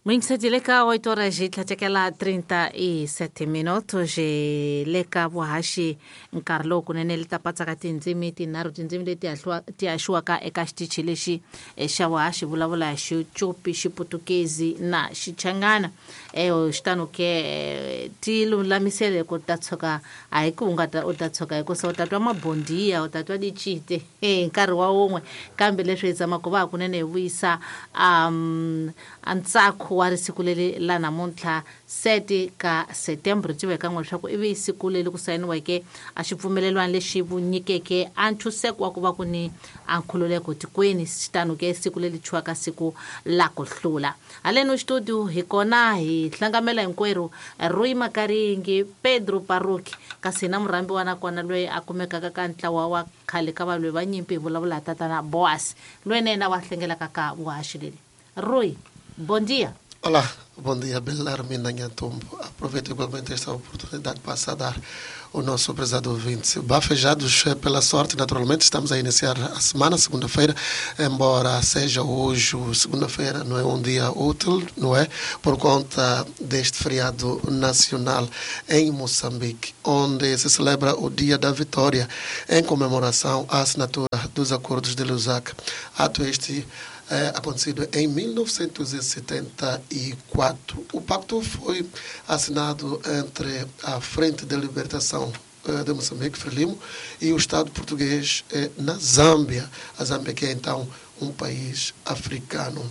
Muyingiseti le ka 8 horas hi tlhatekela 37 minutos hi le ka vuhaxi nkarhi lowu kunene li ta patsaka tindzimi tinharhu tindzimi leti ti haxiwaka eka xitichi lexi xa vuhaxi vulavula hi Xicopi, Xiputukezi na Xichangana. Xitano ke ti lulamisele ku ta tshuka a hi ku u nga ta u ta tshuka hikusa u ta twa mabondiya u ta twa dicite hi nkarhi wa wun'we kambe leswi hi tsamaka va hakunene hi vuyisa a ntsako wa risiku leri la namuntlha 7 ka Setembro tiveka n'we leswaku ivi siku leri ku sayiniweke a xipfumelelwano lexi vunyikeke a ntshunxeko wa ku va ku ni a nkhululeko tikweni. Xitano ke siku leri thyiwaka siku la ku hlula. Haleno studio hi kona hi hlangamela hinkwerhu Rui Makaringi, Pedro Paruki, kasi na murhambi wa nakona loyi a kumekaka ka ntlawa wa khale ka valwi va nyimpi hi vulavula hi tatana Boas loyi na yena wa hlengelaka ka vuhaxi leri. Rui, bom dia. Olá, bom dia, Belarmina Nhantumbo. Aproveito igualmente esta oportunidade para saudar o nosso prezado ouvinte. Bafejados pela sorte, naturalmente, estamos a iniciar a semana, segunda-feira, embora seja hoje, segunda-feira, não é um dia útil, não é? Por conta deste feriado nacional em Moçambique, onde se celebra o Dia da Vitória, em comemoração à assinatura dos Acordos de Lusaka. Ato este acontecido em 1974. O pacto foi assinado entre a Frente de Libertação de Moçambique, Frelimo, e o Estado português na Zâmbia. A Zâmbia, que é então um país africano.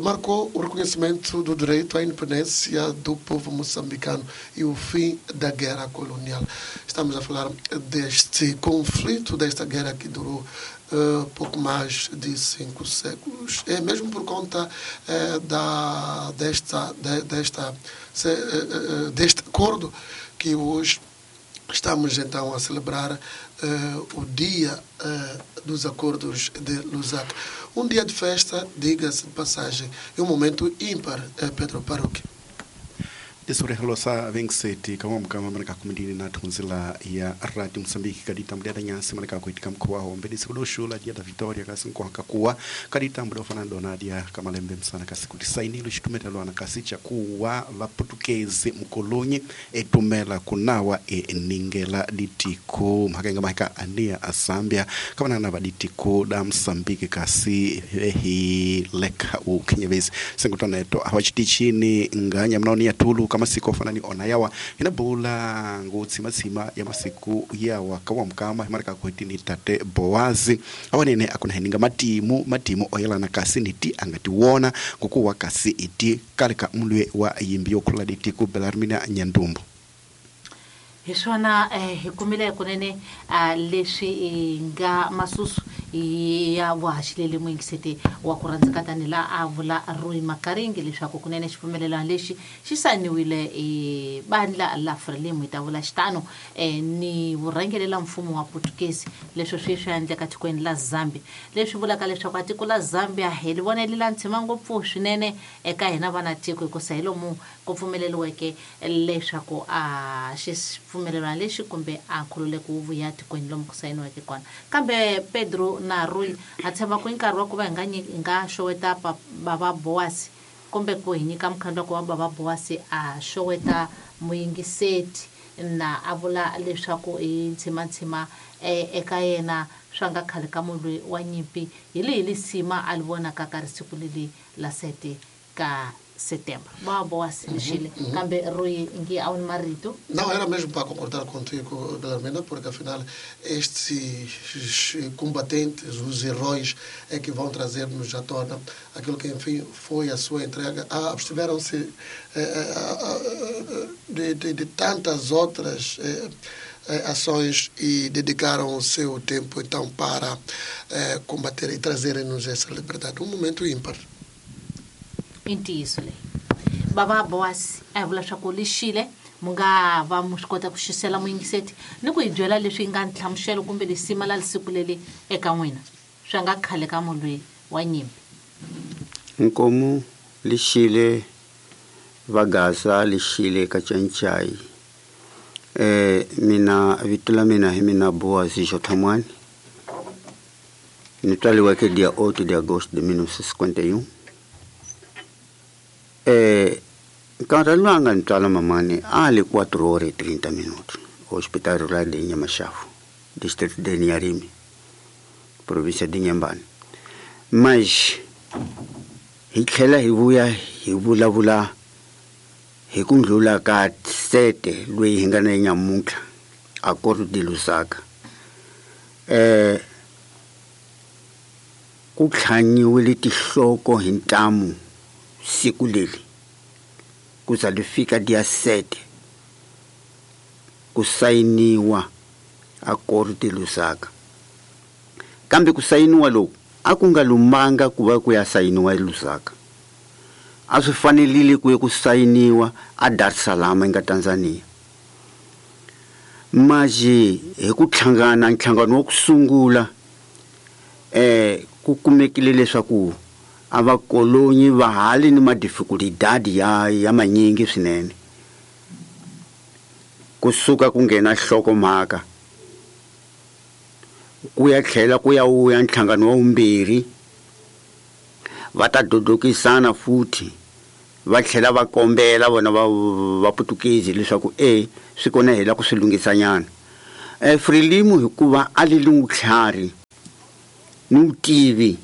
Marcou o reconhecimento do direito à independência do povo moçambicano e o fim da guerra colonial. Estamos a falar deste conflito, desta guerra que durou pouco mais de 5 séculos. É mesmo por conta deste acordo que hoje estamos então a celebrar o dia dos Acordos de Lusaka. Um dia de festa, diga-se de passagem, e um momento ímpar, Pedro Paruki. Tisurehelo sa vengseti kamwamukama manaka kumidini na thunzila ya Radio Mozambique kadita mudada nyasi manaka kuitika mkhuwa wa mbedi siku doshula dia da Vitória kasi nkohaka kuwa kadita muda ofana dona dia kamalembe msana kasi kuti sainilo xitumetelwana kasi cha kuwa vaportuguese mukolonyi etumela kunawa eningela ditiko mhakenga mahika ania a Zambia kamanana va ditiko da Mozambique kasi ehi leka ukhenyevesi sengutwana eto awachitichini nganya mnaoni ya tulu kama masiku ofanani ona yawa inabula ngutsimatsima ya masiku yawa kawamkama himarika kuitini tate Boazi awanene akunaheninga matimu oyelana kasi niti angatiwona kukuwa kasi iti kaleka mulwe wa yimbi yokhula ditiku Belarmina Nyandumbu. Hi swona hi kumile kunene leswi nga masusu ya vuhaxi muyingiseti wa ku rhandzeka tani la a vula Rui Makaringi leswaku kunene xipfumelelano lexi xi sayiniwile bandla la Frelimo hi ta vula xitano ni vurhangeri la mfumo wa Portuguese leswi swi endleka tikweni la Zambia leswi vulaka leswaku a tiko la Zambia hi li vonele la ntshima ngopfu swinene eka hina vana tiko hikusa hi lomu ku pfumeleriweke leswaku a xipfumelelano lexi kumbe a nkhululeko wu vuya tikweni lomu ku sayiniweke kona. Kambe Pedro na Rui a tshemba ku nkarhi wa ku va hi nga xoweta baba Boasi kumbe ku hi nyika mukhandlu wa ku va baba Boasi a xoweta muyingiseti na a vula leswaku hi ntshimantsima eka yena swa nga khale ka mulwi wa nyimpi hi lihi lisima a li vonaka ka risiku leli la 7 ka setembro. Baba Boasi lexile kambe Rui ngi a wu ni marito. Não, era mesmo para concordar contigo, Belarmina, porque afinal estes combatentes, os heróis, é que vão trazer-nos à tona aquilo que, enfim, foi a sua entrega. Abstiveram-se de tantas outras ações e dedicaram o seu tempo, então, para combater e trazerem-nos essa liberdade. Um momento ímpar. I ntiyiso leyi baba Boasi a hi vula swa ku lexile mu nga va mu swi kota ku xisela muyingiseti ni ku hi byela leswi nga nhlamuselo kumbe lisima la lisiku leri eka n'wina swa nga khale ka mulwi wa nyimpi. Nkomu lexile vagaza lexile ka Cancai. Mina vito la mina hi mina Boasi Jothamwani. Ni tswariweke dia 8 de agosto de 1951. Nkarhi lowu a nga ni tswala mamani a li 4 horas 30 minutos Hospital Rural de Inhamashafu, distrito de Inharime, província de Inhambane. Mas hi tlhela hi vuya hi vulavula hi ku ndlula ka 7 loyi hi nga na nyamuntlha Acordo de Lusaka. Ku tlhanyiwile tinhloko hi ntamu siku leri ku za li fika dia 7 ku sayiniwa Acordo de Lusaka. Kambe ku sayiniwa loku a ku nga lumanga ku va ku ya sayiniwa eLusaka. A swi fanerile ku ya ku sayiniwa a Dar es Salaam nga Tanzania. Maji hi ku hlangana nhlangano wa ku sungula ku kumekile leswaku a va kolonyi va hali ni madifikulidadi ya manyingi swinene. Kusuka ku nghena nhlokomhaka ku ya tlhela ku ya wuya nhlangano wa vumbirhi va ta dodokisana futhi va tlhela va kombela vona va Putukezi leswaku swi kona hela ku swi lunghisanyana. Frelimo hikuva a li lungutlhari ni vutivi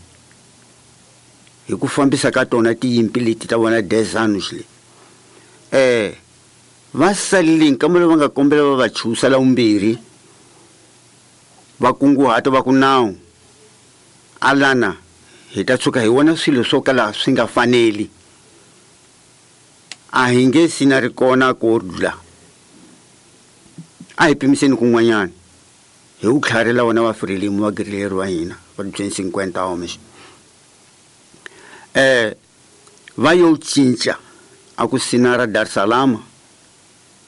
hi ku fambisa ka tona tiyimpi leti ta vona 10 anos le. Va salile nkambe lowu va nga kombela va va chusa la vumbirhi va kunguhata va ku nawu alana hi ta tshuka hi vona swilo swo kala swi nga faneli a hi nge sina ri kona ko dlula a hi pimiseni kun'wanyana hi wu tlharela vona va Frelimo va guerrillero wa hina va 250 homens. Va yo cinca a ku sina ra Dar es Salaam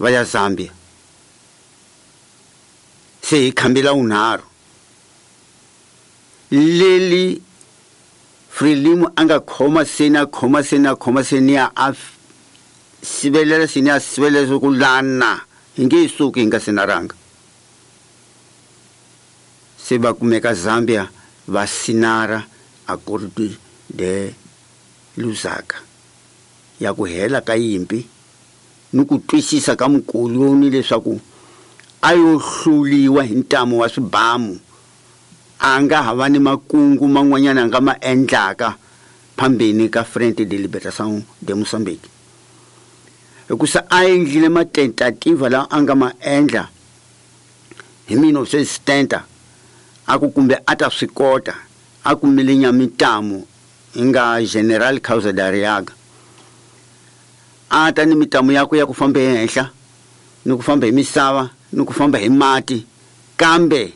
va ya Zambia. Se hi khambela unharhu leli Frelimo a nga khoma seni a khoma seni a khoma seni a sivelela seni a sivelela ku lana hi nge suki hi nga sinaranga. Se va kumeka Zambia va sinara Acordo de Lusaka ya ku hela ka yimpi ni ku twisisa ka mukoloni leswaku a yo hluliwa hi ntamu wa swibamu a nga ha va ni makungu man'wanyana a nga ma endlaka phambeni ka Frente de Libertação de Moçambique. Hikusa a endlile matentativa lawa a nga ma endla hi 1970 a ku kumbe a ta swi kota a kumile nyamintamu hi nga General Kaúlza de Arriaga. A ta ni mitamu yakwe ya ku famba ehenhla ni ku famba hi misava ni ku famba hi mati kambe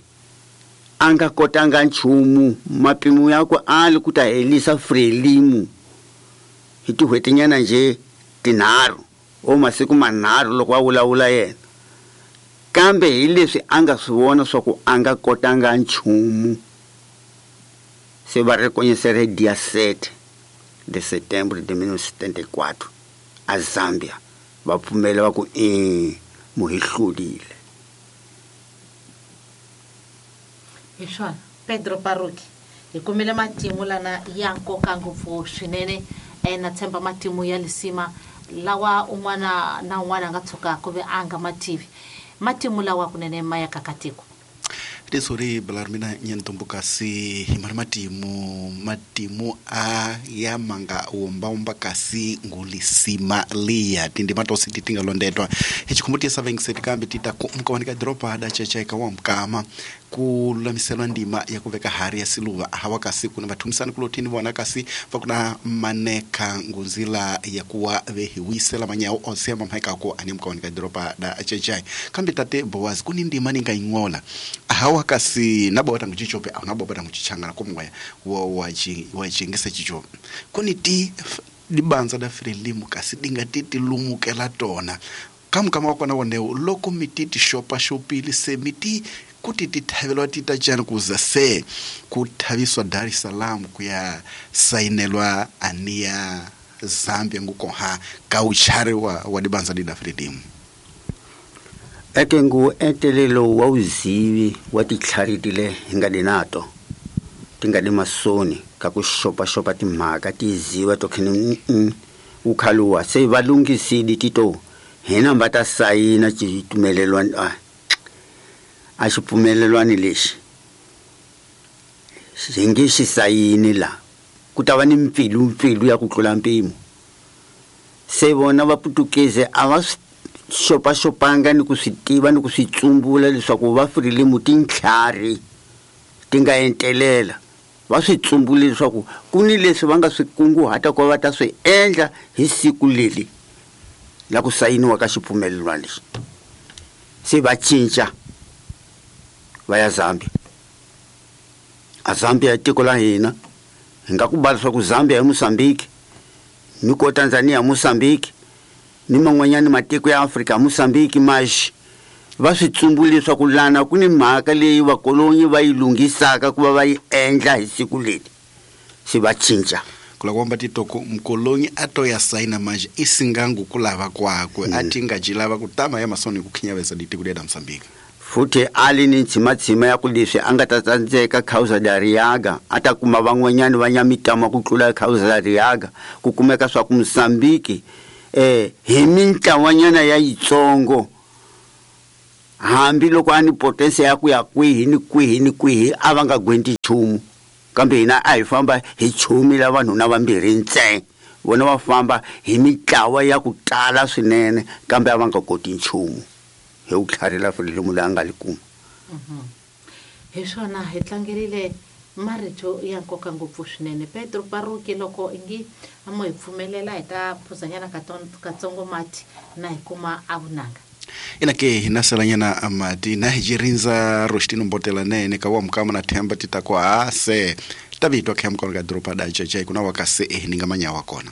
a nga kotanga nchumu. Mapimo yakwe a li ku ta helisa Frelimo hi tin'hwetinyana nje tinharhu o masiku manharhu loko a vulavula yena, kambe hi leswi a nga swi vona swa ku a nga kotanga nchumu. Se va reconhecer dia 7 de setembro de 1974 a Zambia va pfumela va ku mu hi hlulile. Hi swona Pedro Parruque hi kumile matimu lana ya nkoka ngopfu swinene na tshemba matimu ya lisima lawa un'wana na un'wana a nga tshuka ku ve a nga mativi matimu lawa kunene ma ya kakatiko. Tisori Belarmina nyentombo kasi hi mari matimu a ya manga womba kasi ngulisima liya tindima tosi titinga londetwa hi chikhumbuti vengiseti kambe tita ku mkawanika dropa da checheka wa mkama ku lulamiselwa ndima ya ku veka hari ya siluva hawa kasi kuna vathumisani kulotini vona kasi va kuna maneka ngunzila ya kuwa vehiwisela manyawu onse mamhaikako ani mkawanika dropa da chechai kambe tate Boaz kuni ndima ninga ingola hawa kasi nabo tangu chichope au nabo tangu chichangana kumwaya wa chingisa chichope kuni ti dibanza da Frelimo kasi dinga titi lumukela tona kama wakona woneo loko mititi shopa shopili se miti kuti tithavelwa tita chani kuza se kuthaviswa Dar es Salaam kuya sainelwa ania Zambia ngukoha kauchari wa dibanza dida Frelimo. Eke ngu entelelo wa uzivi wa titlharitile hi nga di nato ti nga di masoni ka ku xopaxopa timhaka ti ziva to khene Wu khaluwa se va lunghisile tito hina va ta sayina xipfumelelwano a xipfumelelwano lexi xi nge xi sayini la ku ta va ni mpfilumpfilu ya ku tlula mpimo. Se vona vaputukezi a va swi xopaxopanga ni ku swi tiva ni ku swi tsumbula leswaku va Frelimo tintlhari ti nga entelela. Va swi tsumbule leswaku ku ni leswi va nga swi kunguhata ku va ta swi endla hi siku leri la ku sayiniwa ka xipfumelelwano lexi. Se va cinca va ya Zambia. A Zambia i tiko la hina, hi nga ku ba leswaku Zambia i Mozambique, ni ko Tanzania Mozambique, ni man'wanyana matiko ya Afrika Mozambique. Maxi va swi tsumbule leswaku lana ku ni mhaka leyi vakolonyi va yi lunghisaka ku va va yi endla hi siku leri, se va cinca. Kula kwamba titoko mkolonyi a to ya saina manje isingangu kulava kwakwe a ti nga jilava ku tama ya masoni ku khinyavesa ditiko lya Mozambique. Futhi a li ni ntshimatshima ya ku leswi a nga ta tsandzeka Causa da Riaga a ta kuma van'wanyani va nyamitama ku tlula Causa da Riaga, ku kumeka swa ku Mozambique hi mintlawanyana ya yitsongo hambi loko a ni potensia ya ku ya kwihi ni kwihi ni kwihi a va nga gwenti nchumu, kambe hina a hi famba hi chumi la vanhu na vambirhi ntsena, vona va famba hi mitlawa ya ku tala swinene, kambe a va nga koti nchumu hi ku tlharila Frelimo leyi a nga li kuma. Hi swona hi tlangerile marito ya nkoka ngopfu swinene Pedro Paruki. Loko ingi a mo hi pfumelela hi ta phuzanyana katsongo mati na hi kuma a vunanga. Ina ke hina salanyana mati na hi jirindza Rostino Mbotela nene ka wa mukama na themba tita kwa se tavitwa kha mukona ka doroba da chachai kuna wakase ninga manyawa kona.